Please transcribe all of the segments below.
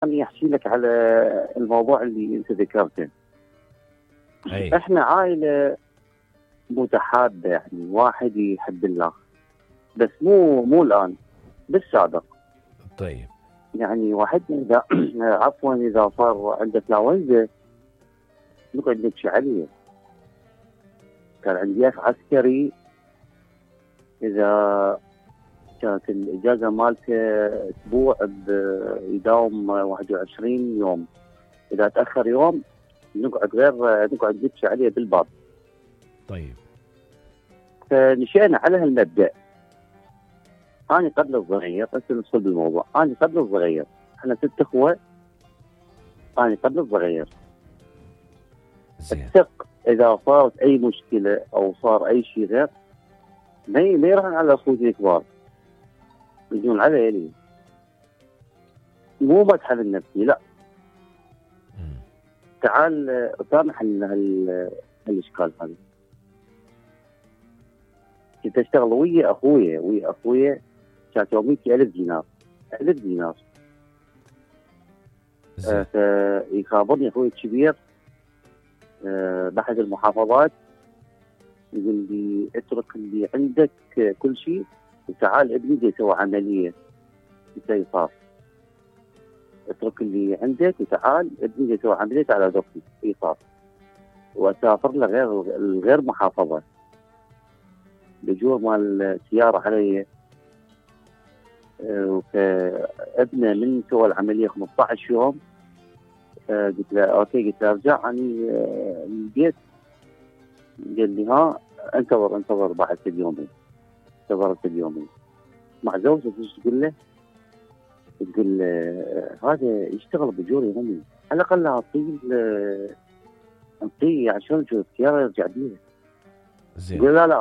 خليني احكي لك على الموضوع اللي انت ذكرته. اي احنا عائله متحابه، يعني واحد يحب الله، بس مو الان، بالسابق. طيب يعني واحدنا اذا عفوا اذا صار عنده انفلونزا نقعد نبكي عليه. كان عندي اخ عسكري، اذا كانت الاجازه مالته اسبوع يداوم 21 يوم، اذا تاخر يوم نقعد نبكي عليه بالباب. طيب فنشأنا على هالمبدأ. أنا قبل الصغير، هسه ندخل بالموضوع. أنا قبل الصغير، احنا 6 اخوة. أنا قبل الصغير زين الثق إذا صارت أي مشكلة أو صار أي شيء غير، ما يروحون على أخوتي الكبار، يجون علي لي. مو مدح لنفسي، لا، مم. تعال سامح هالإشكال هذا. كنت أشتغل ويا أخويا كانت يوميتي 1000 دينار. 1000 دينار. زين فيخابرني أخوي الكبير بأحد المحافظات، يقول لي اترك اللي عندك كل شيء وتعال ابني جاي يسوي عملية استئصال. اترك اللي عندك وتعال ابني جاي يسوي عملية على ضغطي استئصال. وأسافر له غير محافظة. بجور مال السيارة علي. وابنه من سوى العملية 15 يوم. قلت له اوكي، قلت له ارجع اني البيت. قال لي ها انتظر بعد اليومين. انتظرت اليومين مع زوجته. ايش تقول له؟ تقول هذا يشتغل بجور يومي، على الاقل اعطيه عشان شو السيارة يرجع بيها. زين يقول لا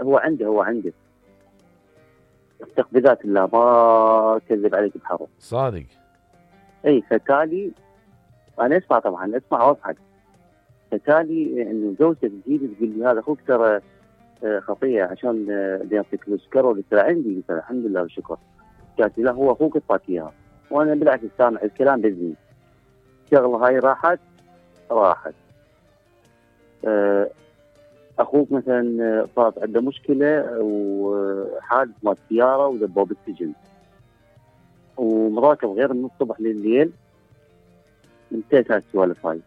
هو عنده استقبالات الله، ما كذب عليك بحرف. صادق. اي فتالي انا اسمع، طبعا اسمع واضحك. فتالي انه زوجته تجيني تقول لي هذا اخوك ترى خطيه عشان يعطيك السكر. قلت له عندي. قلت له الحمد لله والشكر. قالت لي لا هو اخوك اعطاك اياها. وانا بالعكس سامع الكلام باذني. الشغله هاي راحت. اخوك مثلا صارت عنده مشكله وحادث مال سياره ودبوه بالسجن، ومراكب غير من الصبح لليل. انتهت هالسوالف هاي.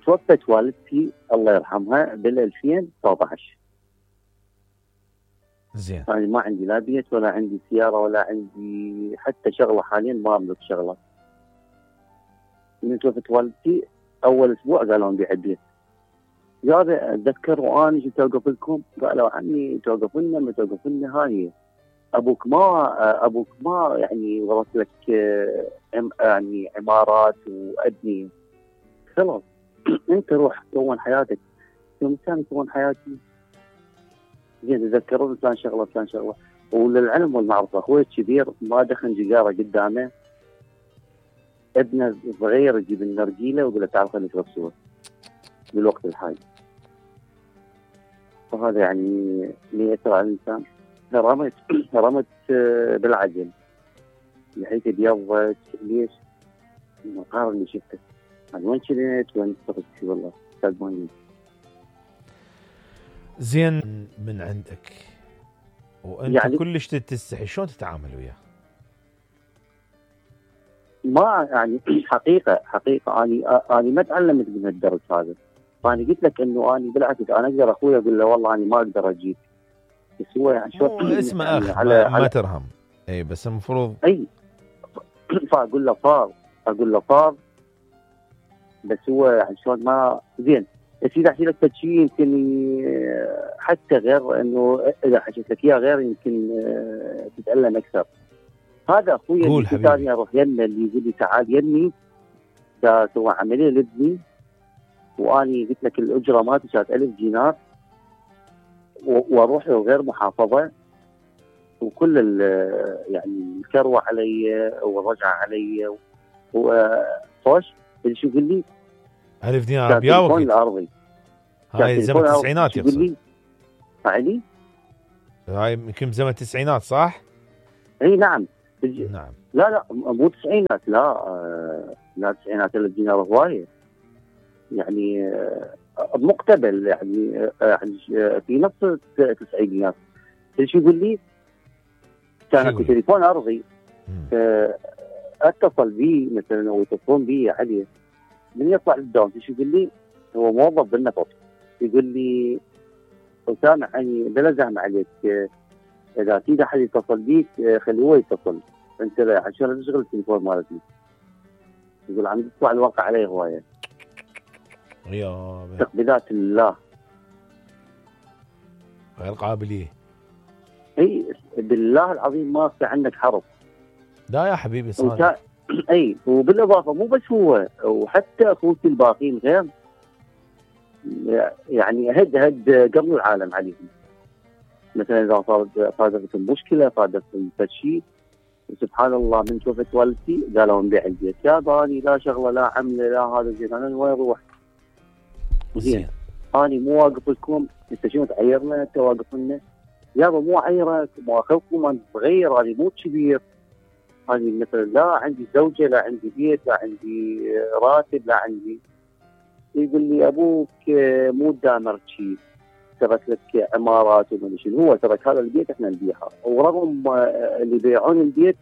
توفت والدتي الله يرحمها بال 2019. زين يعني ما عندي لا بيت ولا عندي سياره ولا عندي حتى شغله. حاليا ما املك شغله. من توفت والدتي اول اسبوع قالوا نبيع البيت. هذا اتذكر وانا جيت اوقف لكم، قالوا عمي توقف لنا ما توقف لنا، هاي ابوك ما يعني ورث لك يعني عمارات وابني، خلاص انت روح كون حياتك. يوم كان كون حياتي زين تذكرون فلان شغله. وللعلم والمعرفه اخوي الكبير ما دخن سيجاره قدامه، ابنه الصغير يجيب النرجيله ويقول له تعال خلينا نشرب سوا بالوقت الحالي. فهذا يعني يأثر على الانسان. رمت بالعجل لحيت ابيضت. ليش؟ المقار اللي شفته. انا وين كنت وين صرت والله صدقوني. زين من عندك وانت يعني كلش تستحي، شلون تتعامل وياه؟ ما يعني حقيقه انا ما تعلمت من الدرس هذا. فانا قلت لك انه انا بالعكس انا اقدر اخوي اقول له والله انا ما اقدر اجيك، بس هو يعني شو اسمه يعني اخ على ما ترهم. اي بس المفروض اي. فاقول له صار بس هو يعني شلون ما زين. بس اذا احكي لك شيء يمكن حتى غير انه اذا حكيت لك اياه غير يمكن تتالم اكثر. هذا اخوي قول اللي حبيبي. ثاني اروح يمه اللي يقول لي تعال يمي سوى عمليه لابني، واني قلت لك الاجره مالتي كانت 1000 دينار واروح له غير محافظه، وكل يعني الكروه علي والرجعه علي وفوش. اللي شو يقول لي 1000 دينار كان بيا تليفون وقت الارضي. هاي زمن التسعينات يقول يقصد. لي فعلي. هاي يمكن زمن التسعينات صح؟ اي نعم. نعم. لا مو تسعينات، لا تسعينات الدينار هوايه يعني، مقتبل يعني، في نص التسعينيات. ايش يقول لي؟ كان اكو تليفون ارضي، اتصل بي مثلا او يتصلون بي عليه من يطلع للدوام. ايش يقول لي؟ هو موظف بالنفط. يقول لي اسامه يعني بلا زحمه عليك، اذا في احد يتصل بيك خليه هو يتصل، انت عشان تشغل التليفون مالتي. يقول عم تطلع الواقع عليه هوايه. يا تقبيلات الله غير قابليه. اي بالله العظيم ما في عندك حرف. لا يا حبيبي صادق. اي وبالاضافه مو بس هو، وحتى اخوتي الباقيين غير يعني هد قبل العالم عليهم. مثلا اذا صادفتهم مشكله، صادفتهم شيء، سبحان الله من شوفت والدتي قالوا نبيع البيت. يا باني لا شغله لا عمله لا هذا زين، انا وين اروح؟ زين اني مو واقف لكم، انت شنو تعيرنا؟ انت واقف لنا يابا، مو عيرك مو اخوكم، انا صغير، انا مو كبير، انا مثلا لا عندي زوجه، لا عندي بيت، لا عندي راتب، لا عندي. يقول لي ابوك مو دامر شيء، ترك لك عمارات وما شنو، هو ترك هذا البيت احنا نبيعه. ورغم اللي يبيعون البيت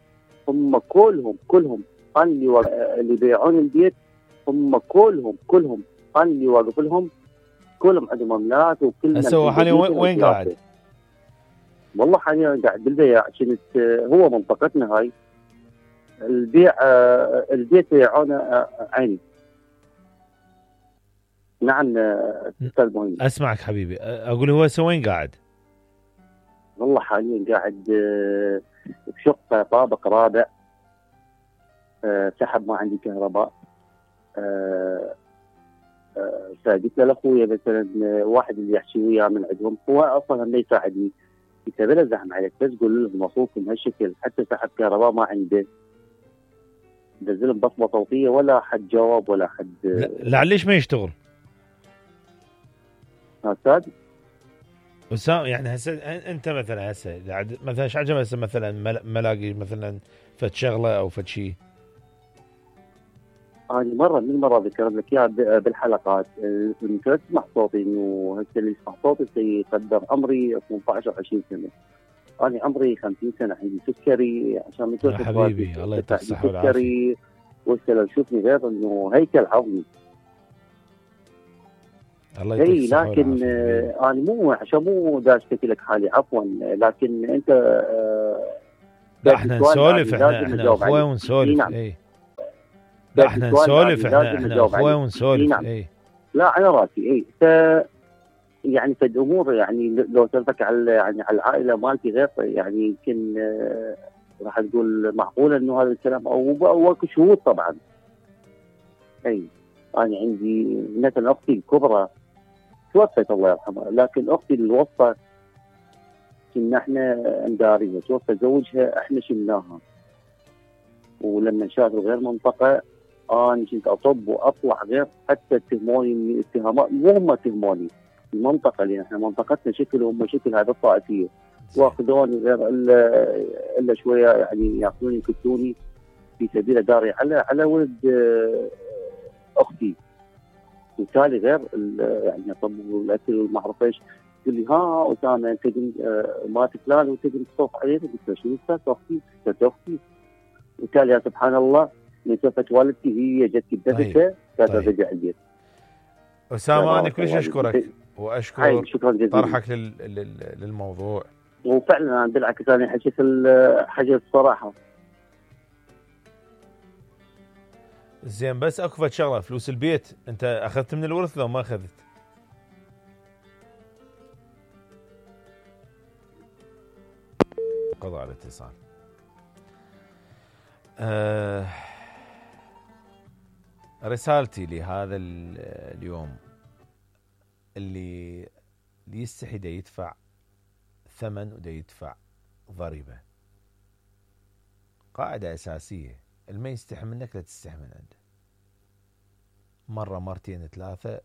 هم كلهم انا اللي يبيعون البيت هم كلهم انا اللي واقف لهم، كلهم عندهم املاك وكل. هسه هو حاليا وين قاعد؟ والله حاليا قاعد بالبيع. كنت هو منطقتنا هاي البيع، البيت بيعونه عيني. نعم استاذ مهندس. اسمعك حبيبي، اقول هو وين قاعد؟ والله حاليا قاعد بشقه طابق رابع، سحب ما عندي كهرباء. فقلت له لاخويا مثلا واحد اللي يحكي وياه من عندهم، هو اصلا ما يساعدني. قلت له بلا زحمه عليك، بس قول لهم مصروفهم هالشكل، حتى سحب كهرباء ما عنده. نزلهم بصمه صوتيه ولا حد جاوب ولا حد. ليش ما يشتغل؟ استاذ وسام يعني هسه انت مثلا هسه مثلا ايش عجب هسه مثلا ملاقي مثلا فد شغله او فد شيء؟ أنا مرة من المرة ذكرت لك إياها بالحلقات، يمكن تسمع صوتي إنه هسه اللي يسمع صوتي سيقدر عمري 18 أو 20 سنة. أنا عمري 50 سنة، عندي سكري، عشان من يا حبيبي الله يعطيك الصحة والعافية. سكري وهسه لو تشوفني غير إنه هيكل عظمي. الله يعطيك الصحة لكن والعافية. أنا مو عشان مو داشتكي لك حالي عفوا، لكن أنت لا احنا نسولف، احنا اخوة ونسولف. اي لا احنا نسولف، احنا اخوة ونسولف. اي لا على راسي. اي يعني فد امور يعني لو سالتك على يعني على العائله مالتي غير يعني يمكن راح تقول معقوله انه هذا الكلام او اكو شهود طبعا. اي انا عندي مثلا اختي الكبرى توفت الله يرحمها، لكن اختي الوسطى كنا احنا نداريها، توفى زوجها احنا شلناها. ولما شافوا غير منطقه انا كنت اطب واطلع غير، حتى اتهموني من اتهامات مو هم اتهموني، المنطقه اللي احنا منطقتنا شكل وهم شكل، هذا الطائفيه واخذوني غير الا شويه يعني ياخذوني يكتوني في سبيل داري على ولد اختي. وبالتالي غير يعني اطب والاكل وما اعرف ايش. تقول لي ها اسامه انت ما فلان وتقدر تصوف عليه؟ قلت له شنو اختي؟ اختي. وبالتالي يا سبحان الله من شافت والدتي هي جت كبدتها كانت ترجع البيت. أسامة أنا كلش أشكرك وأشكر طرحك للموضوع. وفعلا أنا بالعكس أنا حكيت الصراحة. زين بس أكو فد شغلة، فلوس البيت أنت أخذت من الورث لو ما أخذت؟ قضاء الاتصال. رسالتي لهذا اليوم اللي يستحي دا يدفع ثمن ودا يدفع ضريبة، قاعدة أساسية، اللي يستحي منك لا تستحي من عنده. مرة مرتين ثلاثة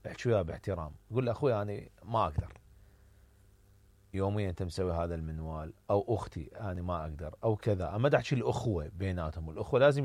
احكي وياه باحترام، قول له أخوي أنا ما أقدر، يوميا انت مسوي هذا المنوال، او اختي انا ما اقدر او كذا. اما دا احكي الاخوه بيناتهم، الاخوه لازم